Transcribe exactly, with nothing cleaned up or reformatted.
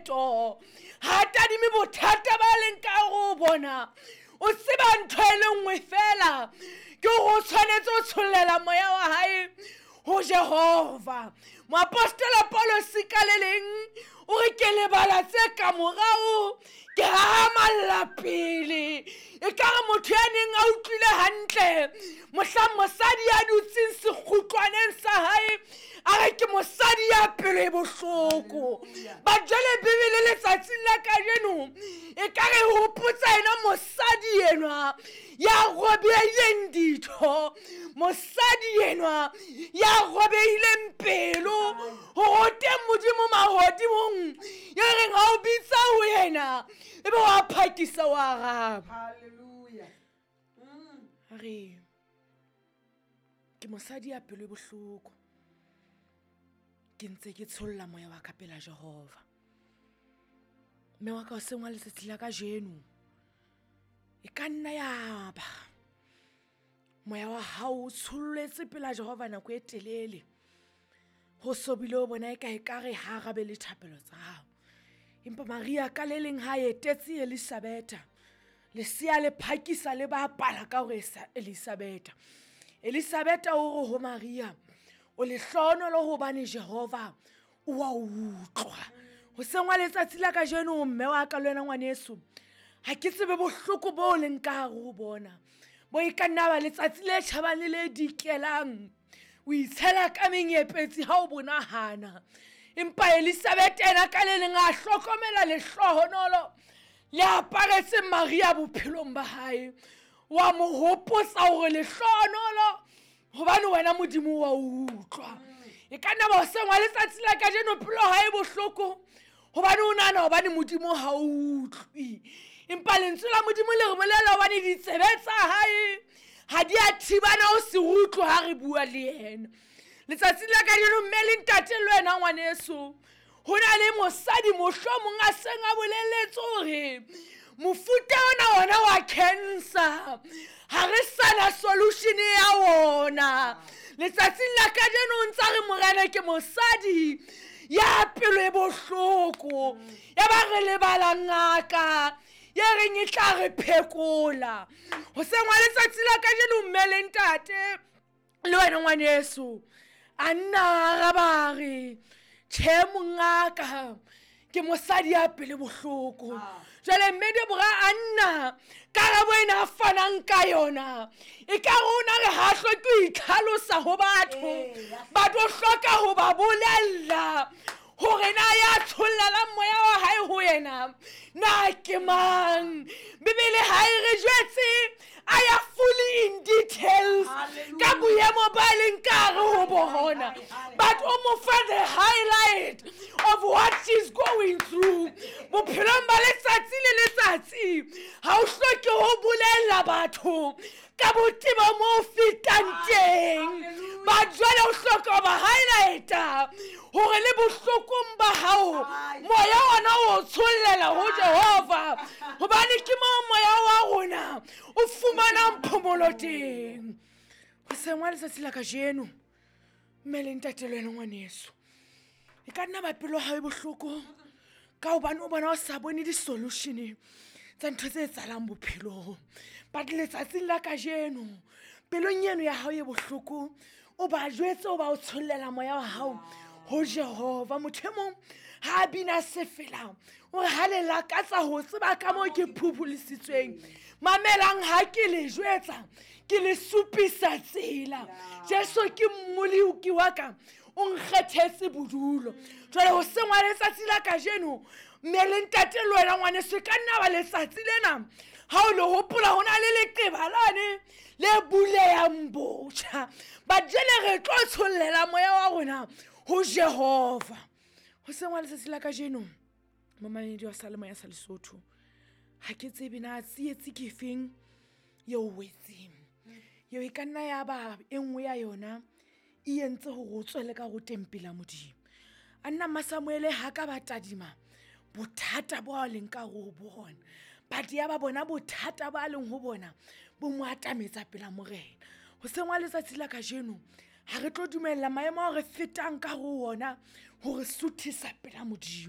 phetoho, ha tadime bothata ba leng ka hare ho bona. O tseba ntho e le nngwe fela, ke hore o tshwanetse ho tshollela moya wa hae ho Jehova. Moapostola Paulus ka le leng o re ke lebala tse ka morao, ke hahamalla pele. E ka re motho ya neng a utlwile hantle mohlang mosadi ya dutseng sekgutlwaneng sa hae a re ke mosadi ya pelo e bohloko. Ba jwale Bibele letsatsing la kajeno e ka re hopotsa yena mosadi enwa ya robehileng ditho, mosadi enwa ya robehileng pelo, hore o teng Modimo mahodimong ya reng ha o bitsa ho yena ebe wa phakisa wa araba. Hallelujah. Mm. A re ke mosadi ya pelo e bohloko, ke ntse ke tsholla moya wa ka pela Jehova. Mme wa ka hoseng wa letsatsi la kajeno e ka nna ya ba moya wa hao o tsholletse pela Jehova nako e telele, ho so bile o bona eka ekare ha arabe le thapelo tsa hao. Empa Maria ka le leng ha etetse Elizabetha, lesea le phakisa le bapala ka hore Elizabetha. Elizabetha o re ho Maria, o lehlohonolo hobane Jehova o wa utlwa. Hoseng wa letsatsi la kajeno mme wa ka le wena ngwaneso, ha ke tsebe bohloko bo leng ka hare ho bona, bo e ka nna ba letsatsi le tjhabang le le dikelang, o itshela ka menyepetsi ha o bonahana. Empa Elizabeth ena ka le leng a hlokomela lehlohonolo le aparetseng Maria bophelong ba hae. Wa mo hopotsa hore lehlohonolo hobane wena Modimo wa utlwa. E ka nna ba hoseng wa letsatsi la kajeno pelo ha e bohloko hobane o nahana hobane Modimo ha o utlwe. Empa lentswe la Modimo le re bolella hobane ditsebe tsa hae ha di a thibana ho se utlwe ha re bua le yena. Letsatsing la kajeno mme le ntate le wena ngwaneso, ho na le mosadi mohlomong a seng a bolelletse hore mofuta ona ona wa cancer ha re sana solution ya wona. Letsatsing la kajeno o ntsa re morena ke mosadi ya pelo e bohloko, ya ba re lebala ngaka ye reng e tla re phekola. Hoseng wa letsatsi la kajeno mme le ntate le wena ngwaneso, a nna araba re tjhe mongaka ke mosadi ya pele bohloko. Jwale mme Deborah a nna karabo ena a fanang ka yona e ka rona re ha hloke ho itlhalosa ho batho, ba tlo hloka ho ba bolella hore na ya tshollelang moya wa hae ho yena na ke mang. Bibele ha e re jwetse a ya fully in details ka boemo ba leng ka hare ho bona, but o mo fa the highlight of what she's going through bophelong ba letsatsi le letsatsi. Ha o hloke ho bolella batho ka botebo mo fetang teng, ba jwale o hloka ho ba highlighta hore le bohlokong ba hao moya ona o tshollela ho Jehova, hobane ke moo moya wa rona o fumanang phomolo teng. Hoseng wa letsatsi la kajeno mme le ntate le wena ngwaneso, e ka nna ba pelo ha e bohloko ka hobane o bona o sa bone di-solution tsa ntho tse etsahalang bophelong. But letsatsing la kajeno pelong eno ya hao e bohloko o ba jwetse o ba o tshollela moya wa hao ho Jehova. Motho e mong ha a bina sefela o re ha le lakatsa ho tseba ka moo ke phuphulisitsweng, mamelang ha ke le jwetsa ke le supisa tsela. Jesu ke mmoloki wa ka, o nkgethetse bodulo. Jwale hoseng wa letsatsi la kajeno mme le ntate le wena ngwaneso, e ka nna ba letsatsi lena ha o le hopola ho na le leqeba lane le bulehang botjha. But jwale re tlo tshollela moya wa rona ho Jehova. Hoseng wa letsatsi la kajeno momamedi wa Salemoya sa Lesotho, ha ke tsebe na tsietsi ke efeng eo o wetseng. Eo e ka nna ya ba e nngwe ya yona e entse hore o tswele ka hare ho tempele ya Modimo. A nna Mmasamuele ha ka ba tadima bothata bo a leng ka hare ho bona, but ya ba bona bothata ba leng ho bona bo mo atametsa pela Morena. Hoseng wa letsatsi la kajeno ha re tlo dumella maemo ao re fetang ka hare ho ona hore suthisa pela Modimo.